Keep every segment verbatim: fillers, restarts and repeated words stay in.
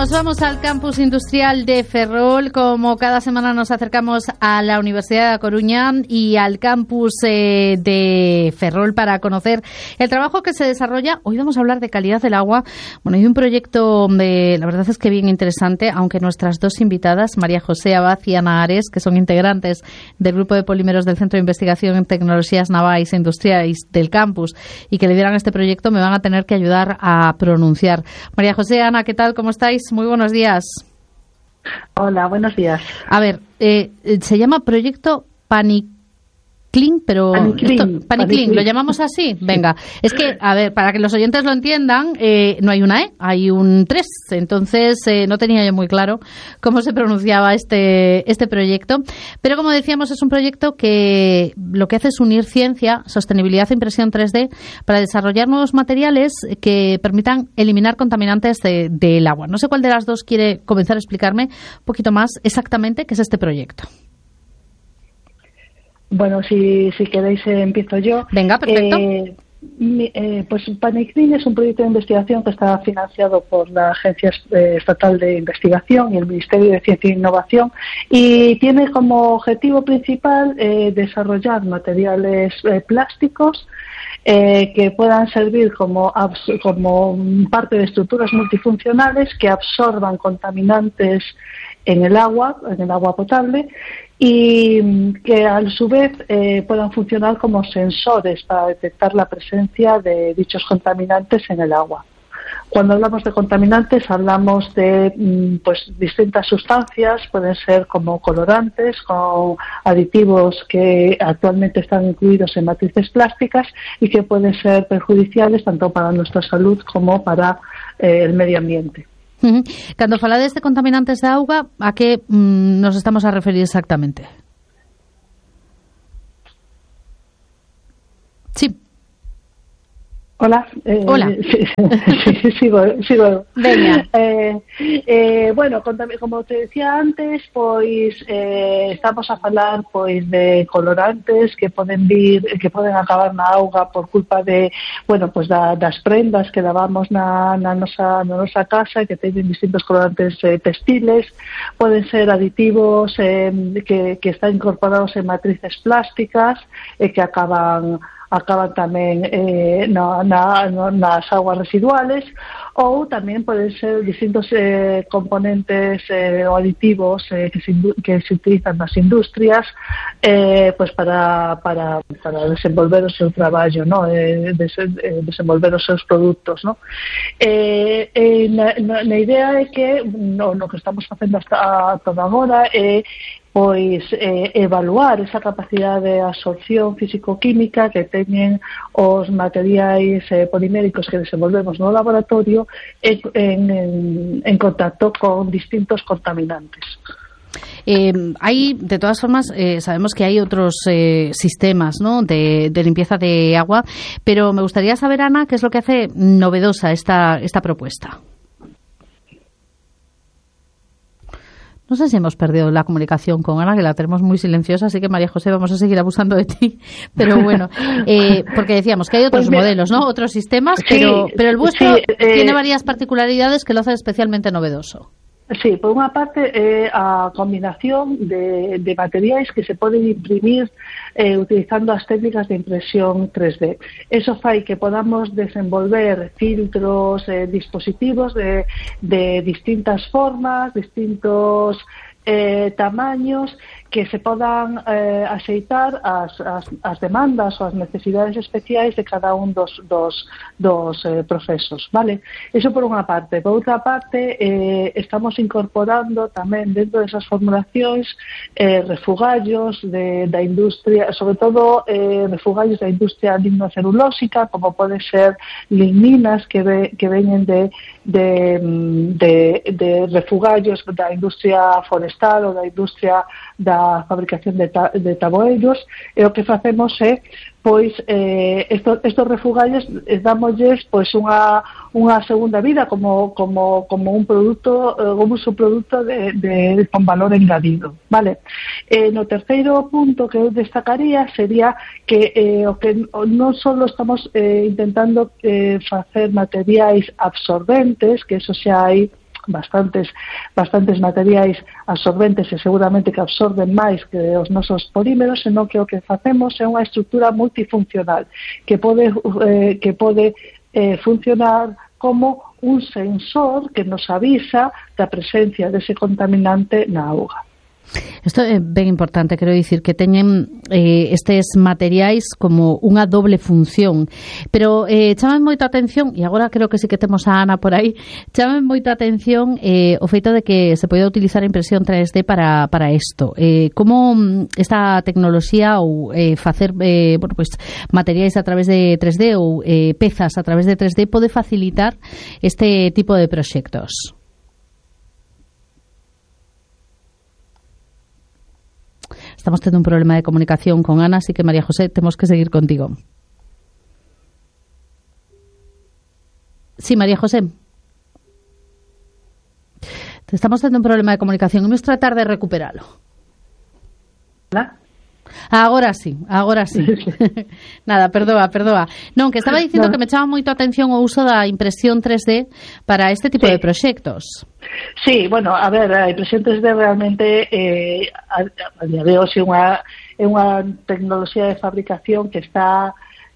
Nos vamos al campus industrial de Ferrol. Como cada semana nos acercamos a la Universidad de A Coruña y al campus eh, de Ferrol para conocer el trabajo que se desarrolla. Hoy vamos a hablar de calidad del agua. Bueno, hay un proyecto, de, la verdad es que bien interesante, aunque nuestras dos invitadas, María José Abad y Ana Ares, que son integrantes del grupo de polímeros del Centro de Investigación en Tecnologías Navais e Industriais del campus y que lideran este proyecto, me van a tener que ayudar a pronunciar. María José, Ana, ¿qué tal? ¿Cómo estáis? Muy buenos días. Hola, buenos días. A ver, eh, se llama Proyecto Paniclean, pero Paniclean, Paniclean, ¿lo llamamos así? Venga, es que, a ver, para que los oyentes lo entiendan, eh, no hay una E, hay un tres, entonces eh, no tenía yo muy claro cómo se pronunciaba este, este proyecto, pero como decíamos, es un proyecto que lo que hace es unir ciencia, sostenibilidad e impresión tres D para desarrollar nuevos materiales que permitan eliminar contaminantes de, del agua. No sé cuál de las dos quiere comenzar a explicarme un poquito más exactamente qué es este proyecto. Bueno, si, si queréis eh, empiezo yo. Venga, perfecto. Eh, mi, eh, pues Paniclean es un proyecto de investigación que está financiado por la Agencia eh, Estatal de Investigación y el Ministerio de Ciencia e Innovación y tiene como objetivo principal eh, desarrollar materiales eh, plásticos eh, que puedan servir como, como parte de estructuras multifuncionales que absorban contaminantes en el agua, en el agua potable, y que a su vez eh, puedan funcionar como sensores para detectar la presencia de dichos contaminantes en el agua. Cuando hablamos de contaminantes hablamos de pues distintas sustancias, pueden ser como colorantes, con aditivos que actualmente están incluidos en matrices plásticas y que pueden ser perjudiciales tanto para nuestra salud como para eh, el medio ambiente. Uh-huh. Cando falades de contaminantes de auga, a que mm, nos estamos a referir exactamente? Sí. Hola. Eh, Hola. Sí, sí, sigo, sigo. Veña. Eh, eh, bueno, como te decía antes, pois eh, estamos a falar pois de colorantes que poden vir, que poden acabar na auga por culpa de, bueno, pois da, das prendas que lavamos na, na, nosa, na nosa casa, que teñen distintos colorantes eh, textiles, poden ser aditivos eh, que, que están incorporados en matrices plásticas e eh, que acaban acaban tamén eh, na, na, nas aguas residuales, ou tamén poden ser distintos eh, componentes eh, ou aditivos eh, que, se, que se utilizan nas industrias eh, pues para, para, para desenvolver o seu traballo, ¿no? eh, des, eh, desenvolver os seus produtos, ¿no? Eh, eh, na, na idea é que no, no que estamos facendo hasta toda agora é eh, pois eh, evaluar esa capacidade de absorción físico-química que teñen os materiais eh, poliméricos que desenvolvemos no laboratorio en, en, en contacto con distintos contaminantes. Eh, hay, de todas formas, eh, sabemos que hay otros eh, sistemas, ¿no?, de, de limpieza de agua, pero me gustaría saber, Ana, qué es lo que hace novedosa esta, esta propuesta. No sé si hemos perdido la comunicación con Ana, que la tenemos muy silenciosa, así que María José, vamos a seguir abusando de ti. Pero bueno, eh, porque decíamos que hay otros pues modelos, ¿no? Otros sistemas, sí, pero, pero el vuestro sí, eh, tiene varias particularidades que lo hacen especialmente novedoso. Sí, por unha parte é eh, a combinación de, de materiais que se poden imprimir eh, utilizando as técnicas de impresión tres D. Eso fai que podamos desenvolver filtros, eh, dispositivos de, de distintas formas, distintos eh, tamaños, que se podan eh, axeitar as, as, as demandas ou as necesidades especiais de cada un dos, dos, dos eh, procesos, vale? Eso por unha parte. Por outra parte, eh, estamos incorporando tamén dentro desas formulacións eh, refugallos de, da industria, sobre todo eh, refugallos da industria lignocelulósica, como pode ser ligninas que, ve, que veñen de, de, de, de refugallos da industria forestal ou da industria da a fabricación de, ta, de taboeiros, e o que facemos é pois eh, estos, estos refugallos dámosles pois unha, unha segunda vida como, como, como un produto, como un subproduto de, de, con valor engadido, vale? Eh, no terceiro punto que eu destacaría sería que eh, o que non só estamos eh, intentando eh, facer materiais absorbentes, que eso xa hai bastantes bastantes materiais absorbentes e seguramente que absorben máis que os nosos polímeros, senón que o que facemos é unha estrutura multifuncional que pode eh, que pode eh, funcionar como un sensor que nos avisa da presencia dese contaminante na auga. Isto é ben importante, quero dicir que teñen eh, estes materiais como unha doble función, pero eh, chaman moito a atención, e agora creo que sí que temos a Ana por aí, chaman moito a atención eh, o feito de que se pode utilizar a impresión tres D para, para isto. Eh, como esta tecnoloxía ou eh, facer eh, bueno, pues, materiais a través de tres D ou eh, pezas a través de tres D pode facilitar este tipo de proxectos? Estamos tendo un problema de comunicación con Ana, así que María José, temos que seguir contigo. Sí, María José. Estamos tendo un problema de comunicación. Vamos a tratar de recuperalo. ¿Hola? Agora sí, agora sí. Nada, perdoa, perdoa. Non, que estaba dicindo no. que me chama moito a atención o uso da impresión tres D para este tipo sí. de proxectos. Sí, bueno, a ver, a impresión tres D realmente eh, a, a día de hoxe é unha, é unha tecnoloxía de fabricación que está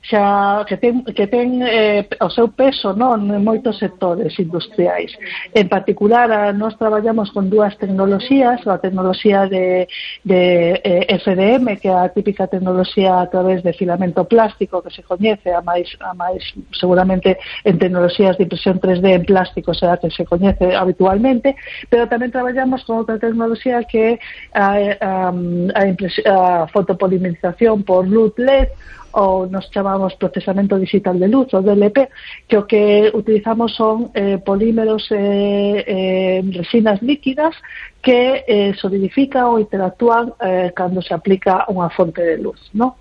xa que ten, que ten eh, o seu peso non en moitos sectores industriais. En particular, a, nós traballamos con dúas tecnoloxías, a tecnoloxía de, de eh, F D M, que é a típica tecnoloxía a través de filamento plástico que se coñece, a máis, a máis seguramente en tecnoloxías de impresión tres D en plástico será que se coñece habitualmente, pero tamén traballamos con outra tecnoloxía que é a, a, a, a fotopolimerización por luz L E D, ou nos chamamos procesamento digital de luz, ou D L P, que o que utilizamos son eh, polímeros eh, eh, resinas líquidas que eh, solidifican ou interactúan eh, cando se aplica unha fonte de luz, ¿no?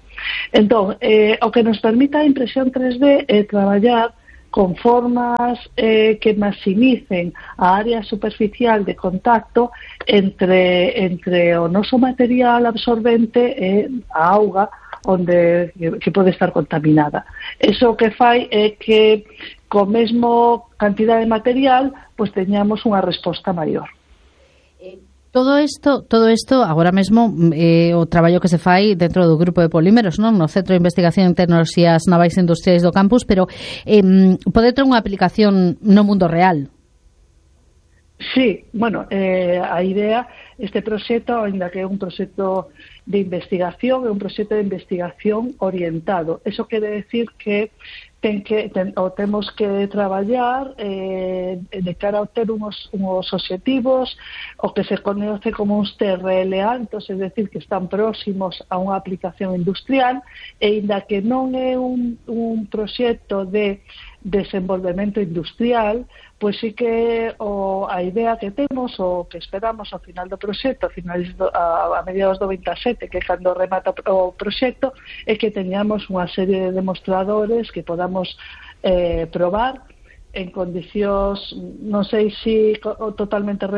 Entón, eh, o que nos permite a impresión tres D é traballar con formas eh, que maximicen a área superficial de contacto entre, entre o noso material absorbente e a auga onde que pode estar contaminada. Eso que fai é que co mesmo cantidad de material pois teñamos unha resposta maior. Todo isto, todo isto agora mesmo eh, o traballo que se fai dentro do grupo de polímeros, non? No Centro de Investigación en Tecnoloxías Navais Industriais do campus, pero eh, pode ter unha aplicación no mundo real. Sí, bueno, eh, a idea, este proxecto, ainda que é un proxecto de investigación, é un proxecto de investigación orientado. Eso quere decir que ten que ten, o temos que traballar eh, de cara a obter unos, unos objetivos o que se conoce como uns T R L altos, es decir, que están próximos a unha aplicación industrial, e ainda que non é un, un proxecto de desenvolvemento industrial, pois sí que o, a idea que temos, o que esperamos ao final do proxecto, a, finales do, a, a mediados do veintisiete, que é cando remata o proxecto, é que teñamos unha serie de demostradores que podamos eh, probar en condicións, non sei se si totalmente reales,